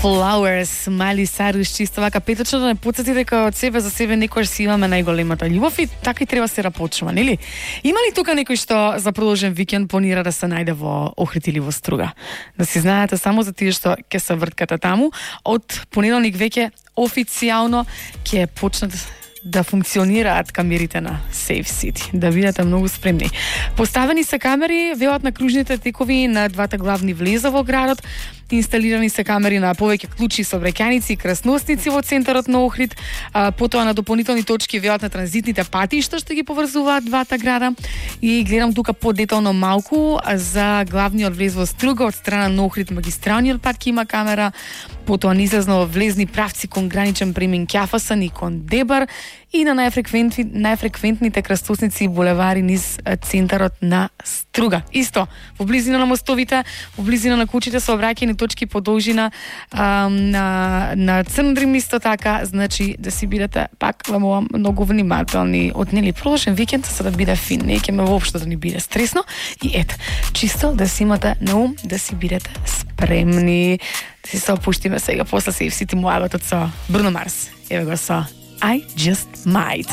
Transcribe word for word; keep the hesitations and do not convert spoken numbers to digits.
Flowers, Miley Cyrus, чисто вака петочно да не потсети дека од себе за себе некојаш си имаме најголемата љубов и така и треба се рапочува, нели? Има ли тука некој што за продолжен викенд планира да се најде во Охрид или во Струга? Да си знаете само за тие што ќе се врткате таму, од понеделник веќе официјално ќе почнат да функционираат камерите на Safe City. Да бидете многу спремни. Поставени се камери, велат на кружните текови на двата главни влеза во градот. Инсталирани се камери на повеќе клучи, сообраќајници и крсносници во центарот на Охрид. А, потоа на дополнителни точки велат на транзитните патишта што ги поврзуваат двата града. И гледам тука подетално малку за главниот влез во Струга од страна на Охрид, магистралниот пат ки има камера. Потоа низлезно влезни правци кон граничен премин Ќафасан и кон Дебар и на најфреквентни, најфреквентните крстосници и булевари низ центарот на Струга. Исто, во близина на мостовите, во близина на кучите сообраќајни точки по должина а, на, на Црндрим исто така, значи да си бидете пак во многу внимателни од нели продолжен викенд за да биде фин, не ќе ме воопшто да ни биде стресно и ете, чисто да си имате на ум, да си бидете спремни. Да си се опуштиме сега после Safe City муабетот со Бруно Марс. Еве го со I Just Might.